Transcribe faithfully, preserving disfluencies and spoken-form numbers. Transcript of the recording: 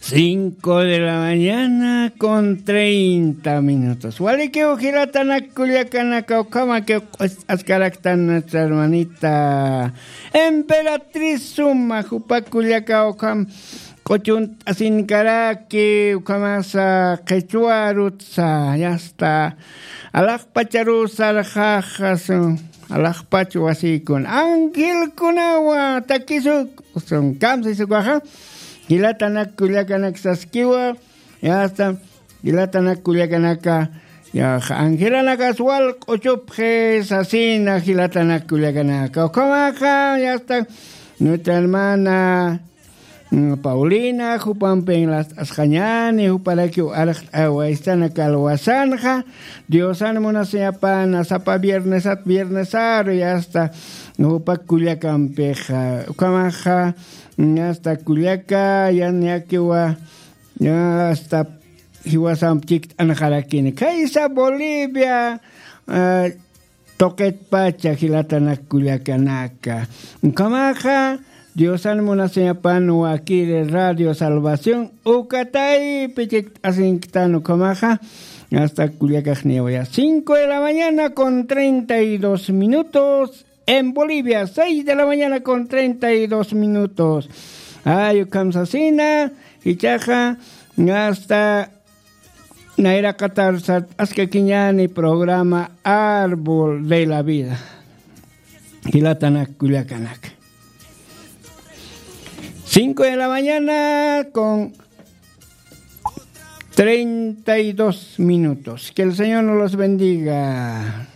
Cinco de la mañana con treinta minutos. Walikiw jilatanak kullakanaka, ukhamakiw q'uch'askaraktan nuestra hermanita Emperatriz Suma, jupa kullaka ukham q'uchunt'asinkaraki, ukhamasa qhichwa arutsa, yasta, alaqpacharuw sarxaxa, sun, alaqpach wasiykun, angelkunawa takisuk, sun, kamsisukwaxa, jilatanak kullakanak saskiwa, yasta, jilatanak kullakanaka, ya, angelanakas wal q'uchupxi sasina jilatanak kullakanaka. Ukhamaxa, yasta, nuestra hermana, mm, Paulina, jupampin last'asxañäni, juparakiw arxt'awaystanaka alwasanxa, Diosan munasiñapana, sapa viernesat, viernesaru, yasta, jupa kullakampixa. Ukhamaxa, yasta, kullaka, yaniyakiwa, yasta, jiwasamp chikt'anxarakini. Khaysa Bolivia, ah, tuqitpacha jilatanak kullakanaka. Ukhamaxa, Diosan munasiñapan wakiri Radio Salvación, uka taypi chikt'asinktan ukhamaxa, yasta, kullakaxniwa ya. Cinco de la mañana con treinta y dos minutos. En Bolivia, seis de la mañana con treinta y dos minutos. Ay, ukham sasina, ichaxa, yasta, nayraqatar sart'askakiñäni programa Árbol de la Vida. Jilatanak kullakanaka. Cinco de la mañana con treinta y dos minutos. Que el Señor nos los bendiga.